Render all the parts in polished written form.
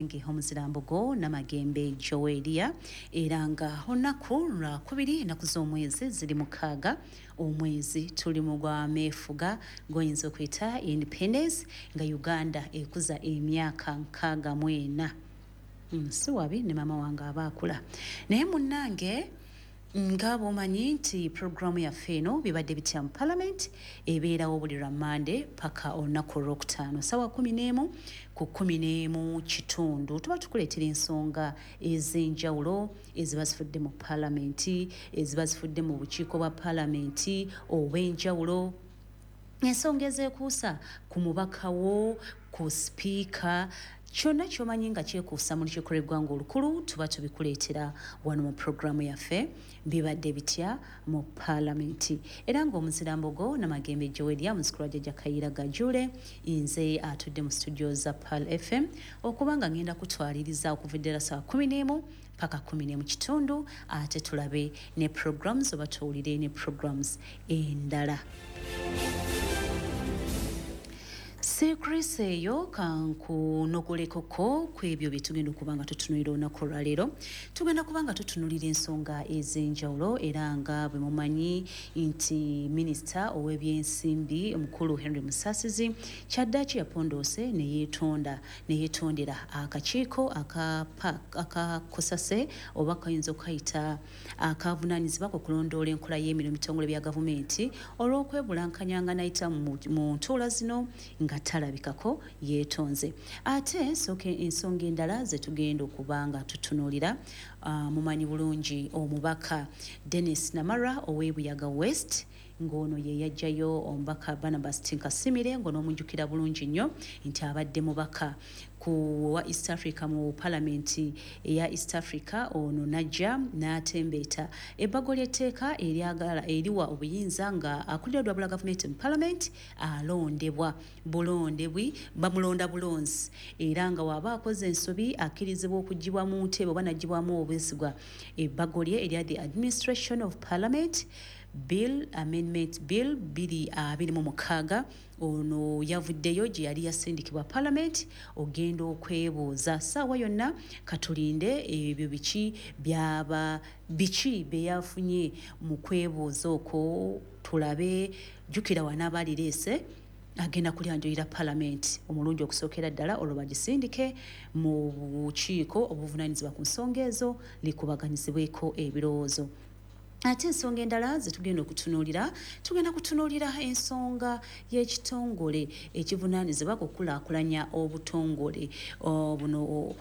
Nge omuzirambogo Namagembe Joelia, era nga olunaku lwakubiri, ennaku z'omwezi ziri 6, omwezi tuli mu gwa meefuga gwoyinza okuyita independence, nga Uganda ekuza emyaka 64. Si wabi ne maama wange aba akula. Naye munnange, nga bw'omanyi nti puroguramu yaffe eno Bibadde Bitya mu Parliament ebeerawo buli lwa Mande paka olunaku olwokutaano sawa 11 ku 11:15. Tuba tukuleetera ensonga ez'enjawulo eziba zifudde mu palamenti, eziba zifudde mu bukiiko bwa palamenti obw'enjawulo, ensonga ezeekuusa ku mubaka wo, ku sipiika, kyonna kyomanyi nga kyekuusa mu lukiiko lw'eggwanga olukulu, tuba tubikuleetera wano mu puroguramu yaffe Bibadde Bitya mu Paalamenti. Era ng'omuzirambogo Namagembe Joelia, muzzukulu wa Jjajja Kayiira Gajule, nze atudde mu studio za Pearl FM okuba nga ngenda kutwaliriza okuva eddala saa 11 paka 11:15, ate tulabe ne programs oba tuwulire ne programs endala. Sekrisi eyo kankunogolekoko ku ebyo bye tugenda okuba nga tutunuulira olunaku olwaleero. Tugenda kuba nga tutunuulira ensonga ez'enjawulo, era nga bwe mumanyi nti minisita ow'ebyensimbi omukulu Henry Musasizi kyaddaaki yapondoose ne yeetonda, ne yeetondera akakiiko akakosase oba kayinza okukayita akavunaanyizibwa ku kulondoola enkola y'emirimu bitongole bya gavumenti olw'okwebulankanya nga nayita mu ntuula zino nga talabikako. Yeetonze. Ate nsooke ensonga endala ze tugenda okuba nga tutunuulira, mumanyi bulungi omubaka Dennis Namara ow'Ebuyaga West, ng'ono ye yaggyayo omubaka Barnabas Tinkasimire, ng'onoomujjukira bulungi nnyo nti abadde mubaka ku wa East Africa mu palamenti eya East Africa. Ono najja n'atembeeta ebbago ly'etteeka eryagala eriwa obuyinza nga akulira olwabula gavumenti mu palamenti alondebwa bulondebwi, bamulonda bulonzi, era nga waba akoze ensobi akkirizibwa okuggyibwa mu ntebe oba n'aggyibwamu obwesigwa. Ebbago lye erya the Administration of Parliament Bill Amendment Bill 2026, ono yavuddeyo gye yali yasindikibwa palamenti ogenda okwebuuza. Ssaawa yonna katulinde ebyo biki byaba biki bye yafunye mu kwebuuza okwo tulabe. Jjukira wanaaba alireese agenda kulyanjulira palamenti omulundi okusookera ddala, olwo bagisindike mu bukiiko obuvunaanyizibwa ku nsonga ezo likubaganyizibweko ebirowoozo. Ate ensonga endala ze tugenda okutunuulira, tugenda kutunuulira ensonga y'ekitongole ekivunaanyizibwa ku kukulaakulanya obutongole buno,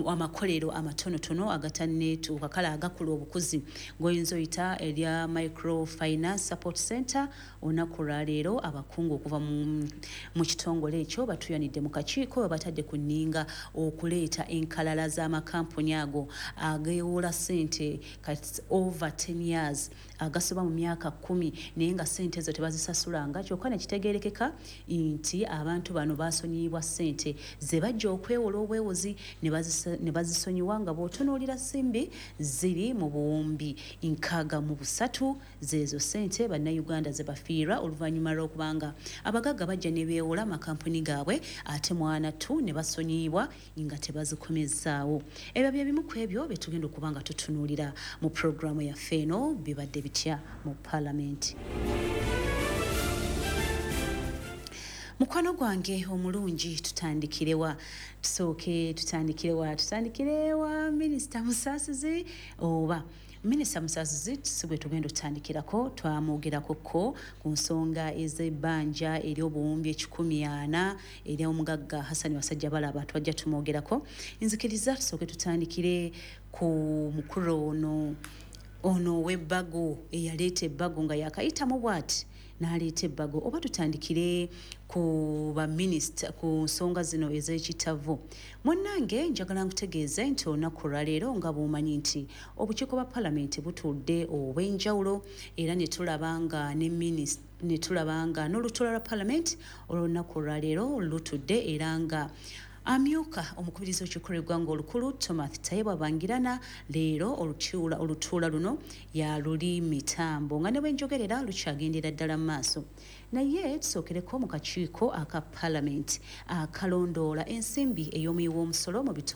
amakolero amatonotono agatanneetuuka, kale agakula obukuzi, g'oyinza oyita erya Microfinance Support Center. Olunaku olwaleero abakungu okuva mu kitongole ekyo batuyanidde mu kakiiko, babatadde ku nninga okuleeta enkalala z'amakampuni ago ageewola ssente kati over 10 years, agasoba mu myaka 10, naye nga ssente ezo tebazisasulanga. Kyokka ne kitegeerekeka nti abantu bano basonyiyibwa ssente ze bajja okwewola obwewozi ne bazisonyiwa, nga bw'otunuulira simbi ziri mu buwumbi 63. Zeezo ssente bannayuganda ze bafiirwa oluvannyuma lw'okubanga abagagga bajja ne beewola amakampuni gaabwe, ate mwana tu ne basonyiyibwa nga tebazikomezaawo. Ebyo bye bimu ku ebyo bye tugenda okuba nga tutunuulira mu puroguramu yaffe eno Bibadde Bitya mu Paalamenti. Mukwano gwange omulungi, tutandikirewa? Tusooke tutandikirewa? Tutandikire wa minisita Musaasizi? Oba minisita Musaasizi si bwe tugenda otutandikirako, twamwogerako ko ku nsonga ez'ebbanja ery'obuwumbi 140 ery'omugagga Hasani Wasajja Balaba, twajja tumwogerako. Nzikiriza tusooke tutandikire ku mukulu ono ow'ebbago eyaleeta ebbago nga yakayitamu bw'ati n'aleeta ebbago, oba tutandikire ku baminisita ku nsonga zino ez'ekitavu? Munnange, njagala nkutegeeze nti olunaku olwaleero, nga bw'omanyi nti obukiiko bwa palamenti butudde obw'enjawulo, era ne tulaba nga ne minisita, ne tulaba nga n'olutuula lwa palamenti olw'olunaku olwaleero lutudde, era nga Amyuka omukubiriza w'olukiiko lw'eggwanga olukulu Thomas Tayebwa Bangirana leero olutuula luno yaluli mitambo nga ne bwe njogerera lukyagendera ddala mu maaso. Naye tusookereko mu kakiiko aka Palamenti akalondoola ensimbi ey'omuwi w'omusolo mu bitongole.